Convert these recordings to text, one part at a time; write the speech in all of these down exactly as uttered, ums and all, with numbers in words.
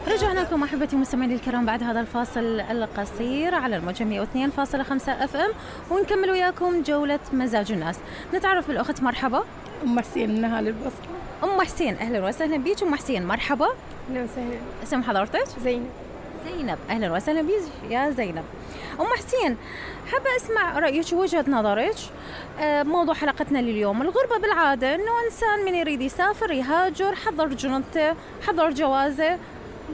رجعنا لكم أحبتي مستمعين الكرام بعد هذا الفاصل القصير على الموجة مئة واثنين فاصلة خمسة اف ام، ونكمل وياكم جولة مزاج الناس. نتعرف بالأخت. مرحبا. أم حسين من أهالي البصرة. أم حسين أهلا وسهلا بيك. أم حسين مرحبا. أهلا وسهلا. اسم حضرتك؟ زينب. زينب أهلا وسهلا بيك يا زينب. أم حسين حابة أسمع رأيك ووجهة نظرك بموضوع حلقتنا لليوم. الغربة بالعادة إنه إنسان من يريد يسافر يهاجر، حضر جنطته، حضر جوازه،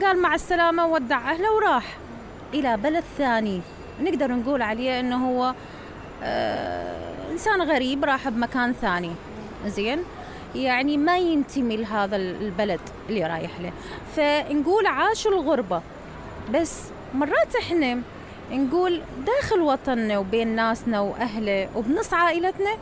قال مع السلامة ودع أهله وراح إلى بلد ثاني، نقدر نقول عليه إنه هو آه إنسان غريب راح بمكان ثاني. زين، يعني ما ينتمي لهذا البلد اللي رايح له، فنقول عاش الغربة. بس مرات إحنا نقول داخل وطننا وبين ناسنا وأهله وبنص عائلتنا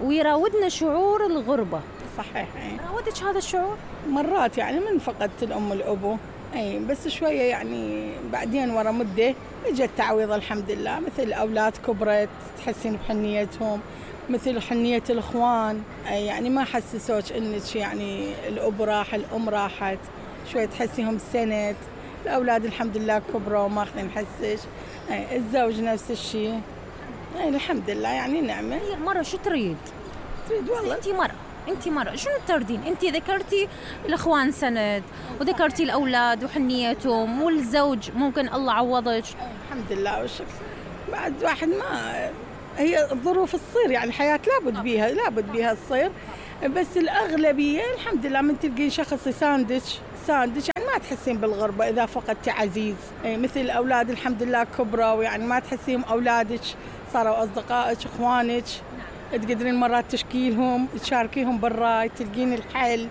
ويراودنا شعور الغربة. صحيح. راودك هذا الشعور؟ مرات يعني من فقدت الأم والأبو، أي بس شوية يعني بعدين ورا مدة اجت تعويض الحمد لله، مثل الأولاد كبرت تحسين بحنيتهم، مثل حنية الإخوان، أي يعني ما حسسوش إنك يعني الأب راح الأم راحت، شوية تحسيهم سند. الأولاد الحمد لله كبروا وما أخذين حسش. الزوج نفس الشيء. الحمد لله يعني نعمة. هي المرة شو تريد؟ تريد والله. أنتي مرة أنتي مرة شنو تردين؟ أنتي ذكرتي الإخوان سند، وذكرتي الأولاد وحنيتهم، والزوج ممكن الله عوضك. الحمد لله والشكر. بعد واحد ما هي الظروف تصير، يعني الحياة لابد بيها لابد بيها تصير، بس الأغلبية الحمد لله من تلقين شخص يساندك ساندك يعني ما تحسين بالغربة إذا فقدتي عزيز. مثل الأولاد الحمد لله كبروا، يعني ما تحسين أولادك صاروا أصدقائك إخوانك، تقدرين مرات تشكيلهم تشاركيهم بالراي تلقين الحل.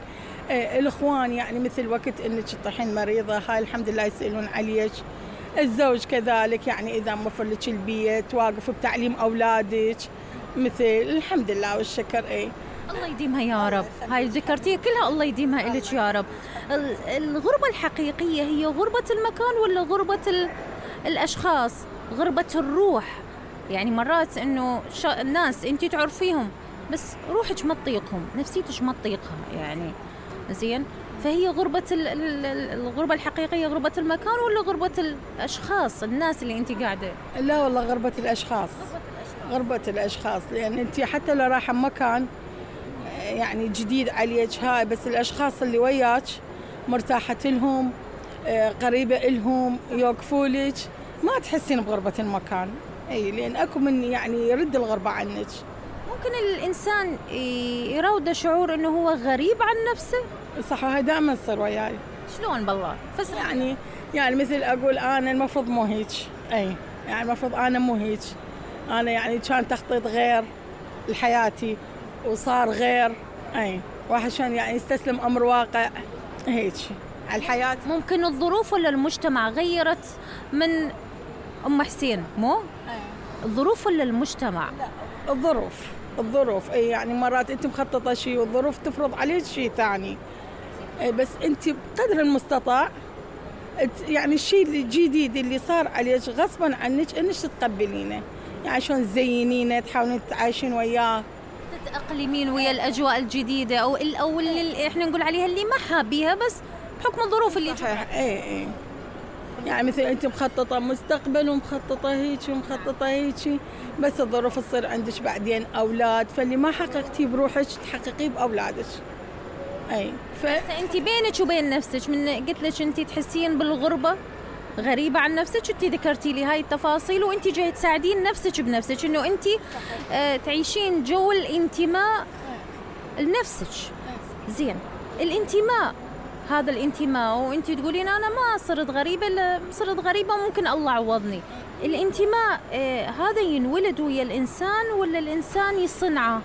الإخوان يعني مثل وقت إنك تطيحين مريضة هاي الحمد لله يسألون عليك. الزوج كذلك يعني إذا موفر لك البيت واقف بتعليم أولادك، مثل الحمد لله والشكر. إيه الله يديمها يا رب. هاي ذكرتيها كلها الله يديمها إلك يا رب. الغربة الحقيقية هي غربة المكان ولا غربة الأشخاص، غربة الروح؟ يعني مرات إنه الناس أنتي تعرفيهم بس روحك ما تطيقهم، نفسيتك ما تطيقها يعني. زين، فهي غربة الغربة الحقيقية غربة المكان ولا غربة الأشخاص، الناس اللي أنتي قاعدة؟ لا والله غربة الأشخاص. غربة الأشخاص، لأن أنتي حتى لو رايحة مكان يعني جديد عليك هاي، بس الأشخاص اللي وياك مرتاحة لهم، قريبة لهم، يوقفوا لك، ما تحسين بغربة المكان. أي لأن أكو من يعني يرد الغربة عنك. ممكن الإنسان يراود شعور إنه هو غريب عن نفسه. صح، هاي دائما تصير وياي. شلون بالله؟ فسر يعني يعني مثل أقول أنا المفروض مو هيك، أي يعني المفروض أنا مو هيك، أنا يعني كان تخطيط غير لحياتي وصار غير. أي واحد شان يعني يستسلم أمر واقع هيك على الحياة. ممكن الظروف ولا المجتمع غيرت من أم حسين؟ مو أي. الظروف ولا المجتمع؟ لا الظروف. الظروف أي يعني مرات أنت مخططة شيء والظروف تفرض عليك شيء ثاني. أي بس أنت بقدر المستطاع يعني الشيء الجديد اللي صار عليك غصبا عنك انك تتقبلينه، يعني شلون تزينينه تحاولين تتعايشين وياه، تتأقلمين ويا الأجواء الجديدة أو أو اللي إحنا نقول عليها اللي ما حابيها بس بحكم الظروف اللي صحيح. إيه إيه يعني مثل أنت مخططة مستقبل ومخططة هيك ومخططة هيك، بس الظروف تصير عندك بعدين أولاد، فاللي ما حققتيه بروحك تحققيه بأولادك. أي ف... أنت بينك وبين نفسك من قلت لك أنت تحسين بالغربة غريبة عن نفسك، أنت ذكرتي لي هاي التفاصيل وأنت جاي تساعدين نفسك بنفسك إنه أنت آه تعيشين جو الانتماء لنفسك. زين، الانتماء هذا الانتماء وأنت تقولين أنا ما صرت غريبة، صرت غريبة ممكن الله عوضني. الانتماء آه هذا ينولد ويا الإنسان ولا الإنسان يصنعه؟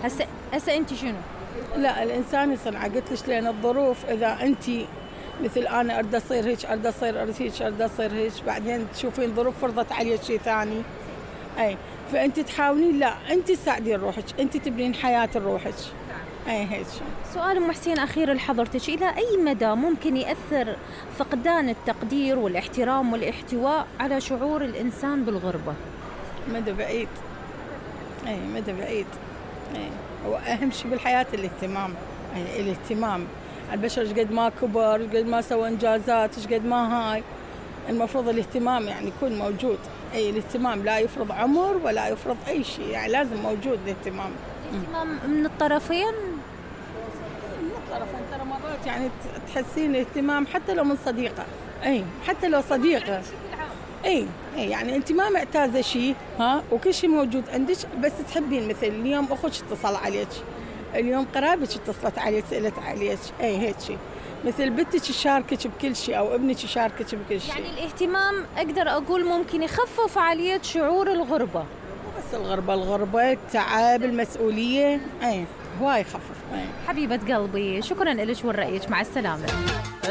هسه هسه أنت شنو؟ لا الإنسان يصنعه. قلت لك لأن الظروف إذا أنت مثل أنا أريد أصير هيك أريد أصير أريد هيك أريد أصير هيك، بعدين تشوفين ظروف فرضت عليك شيء ثاني. أي فأنت تحاولين لا أنت تساعدين روحك، أنت تبنين حياة روحك. أي هيك. سؤال أم حسين أخير لحضرتك، إلى أي مدى ممكن يأثر فقدان التقدير والاحترام والاحتواء على شعور الإنسان بالغربة؟ مدى بعيد. أي مدى بعيد. أي هو أهم شيء بالحياة الاهتمام. أي الاهتمام البشر ايش قد ما كبر، ايش قد ما سوى انجازات، ايش قد ما هاي. المفروض الاهتمام يعني يكون موجود. اي الاهتمام لا يفرض عمر ولا يفرض اي شيء، يعني لازم موجود الاهتمام. الاهتمام من الطرفين؟ من الطرفين ترى مرات يعني تحسين اهتمام حتى لو من صديقه. اي حتى لو صديقه. اي اي يعني انت ما معتازه شيء ها وكل شيء موجود عندك، بس تحبين مثل اليوم اخوك اتصل عليك، اليوم قرابتك اتصلت عليك سالت عليك، اي هيك شيء. مثل بنتك تشاركك بكل شيء او ابنك يشاركك بكل شيء. يعني الاهتمام اقدر اقول ممكن يخفف عليك شعور الغربه. مو بس الغربه، الغربه التعب المسؤوليه اي هواي يخفف. حبيبه قلبي شكرا لك ولرأيك، مع السلامه.